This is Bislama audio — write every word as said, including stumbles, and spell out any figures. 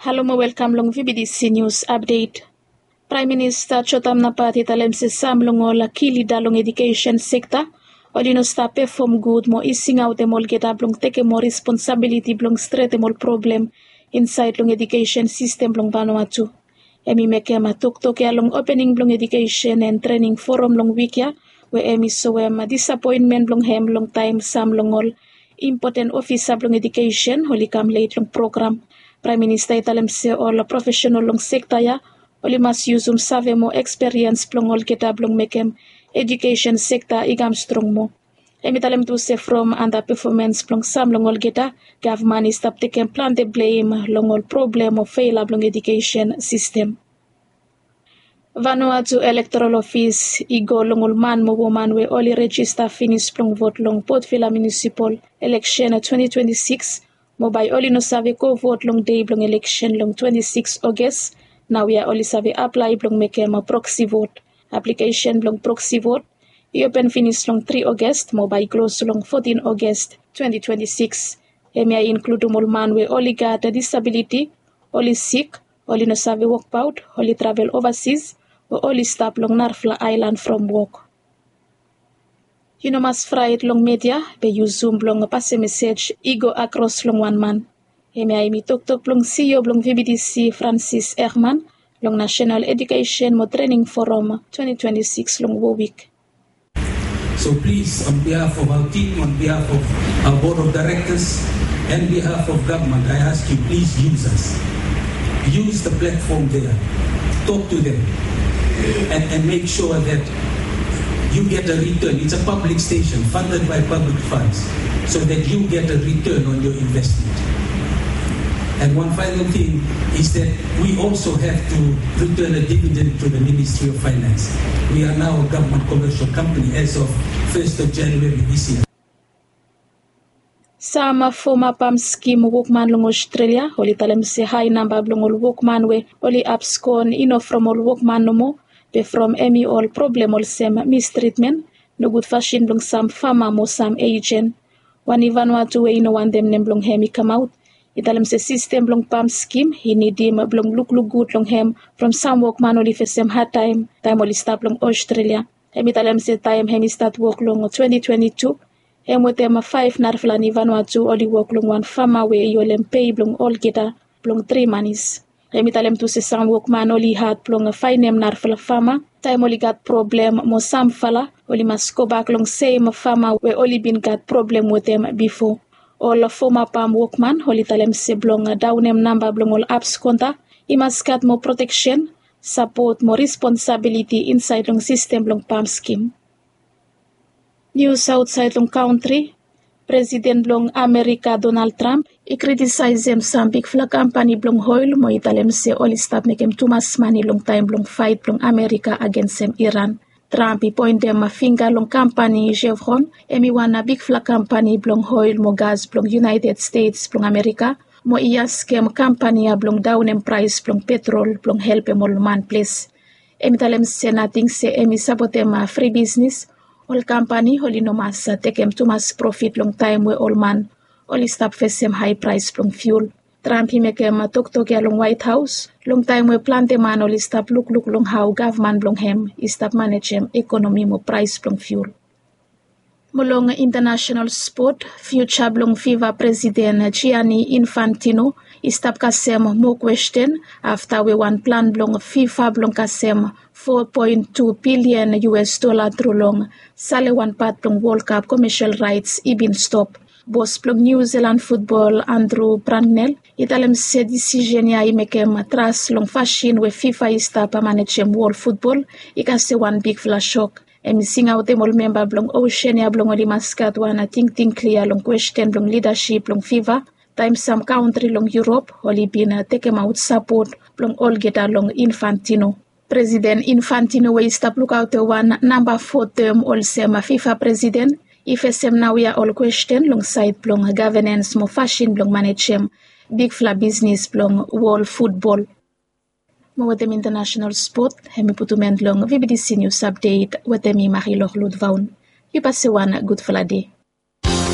Halo mo welkam long V B D C News Update. Praem Minista Jotam Napat i talem se sam long ol ki lida long edukesen sekta oli no stap pefom gud mo i singaotem olgeta blong tekem ol responsabiliti blong stretem ol problem insaed long edukesen sistem blong Vanuatu. Hem i mekem toktok ya long opening blong edukesen and trening forum long wik ya, we hem i soem disapoenmen blong hem long taem sam long ol impoten ofisa blong edukesen oli kam let long program. Praem Minista i talem se ol profesenal long sekta ya oli mas yusum save mo eksperiens blong olgeta blong mekem edukesen sekta i kam strong moa. Hem i talem tu se from anda pefomens blong sam long olgeta, gavman i stap tekem plante blem long ol problem o fela blong edukesen sistem. Vanuatu Elektoral Ofis i go long ol man mo woman we oli rejista finis blong vot long Port Vila Munisipal Eleksen twenty twenty-six, mo bae oli no save go vot long dei blong eleksen long twenty-six Oges. Naoia oli save aplae blong mekem proksi vot. Aplikesen blong proksi vot i open finis long tri Oges mo bae i klos long fotin Oges twenty twenty-six. Hemia i inkludum ol man we oli gat disabiliti, oli sik, oli no save wokbaot, oli travel ovasis, o oli stap long narafala aelan from wok. Yu no mas fraet long media be yu Zoom blong pasem mesej i go akros long wan man. Hemia hemi toktok blong CEO blong VBDC, Francis Herman, long National Education mo Training Forum twenty twenty-six long Warwick. So please, on behalf of our team, on behalf of our board of directors, and behalf of government, I ask you, please use us. Use the platform there. Talk to them. And, and make sure that you get a return. It's a public station funded by public funds, so that you get a return on your investment. And one final thing is that we also have to return a dividend to the Ministry of Finance. We are now a government commercial company as of first of January this year. Sam foma pam skim wokman long Australia oli talem se hae namba blong ol wokman we oli abskon i no from ol wokman nomo, be from hemi ol problem olsem mistritmen, nogud fasin blong sam fama mo sam ejen. Wan i Vanuatu we i no wantem nem blong hem i kamaot i talem se sistem blong pam skim i nidim blong lukluk gud long hem from sam wokman oli fesem hadtaem taem oli stap long Australia. Hem i talem se taem hem i stat wok long twenty twenty-two, hem wetem faef narafala ni Vanuatu oli wok long wan fama we i holem pei blong olgeta blong tri manis. Hem i talem tu se sam wokman oli had blong faenem narafala fama taem oli gat problem mo samfala oli mas gobak long sem fama we oli bin gat problem wetem bifo. Ol foma pam wokman oli talem se blong daonem namba blong ol abskonta i mas gat moa proteksen, sapot mo responsabiliti insaed long sistem blong pam skim. Nius aotsaed long kantri. Presiden blong Amerika Donald Trump i kritisaesem sam bigfala kampani blong oel mo i talem se oli stap mekem tumas mane long taem blong faet blong Amerika agensem Iran. Trump i poentem fingga long kampani Chevron, hem i wan bigfala kampani blong oel mo gas blong United States blong Amerika, mo i askem kampani ya blong daonem praes blong petrol blong helpem ol man ples. Hem i talem se nating se hem i sapotem fri bisnis, ol kampani oli no mas tekem tumas profit long taem we ol man oli stap fesem hae praes blong fiul. Trump i mekem toktok ya long Waet Haos long taem we plante man oli stap lukluk long hao gavman blong hem i stap manejem ekonomi mo praes blong fiul. Mo long intanasenal spot, fiuja blong FIFA presiden Gianni Infantino i stap kasem moa kwesten afta we wan plan blong FIFA blong kasem four point two bilian US dola tru long sale wan pat blong World Cup komesel raets i bin stop. Bos blong Niu Silan futbol Andrew Bracknell i talem se disisen ya i mekem tras long fasin we FIFA i stap manejem wol futbol i kasem wan bigfala sok. Hem i singaotem ol memba blong osen ya blong oli mas gat wan tingting klia long kwesten blong lidasip blong FIFA taem sam kantri long Yurop oli bin tekemaot sapot blong olgeta long Infantino. Presiden Infantino we i stap lukaotem wan namba fo tem olsem FIFA presiden i fesem naoia ol kwesten long saed blong gavenens mo fasin blong manejem bigfala bisnis blong wol futbol. Mo wetem intanasenal spot, hem i putum en long VBDC Nius Apdet wetem mi Marilor Ludvaun. Yu pase wan gudfala dei.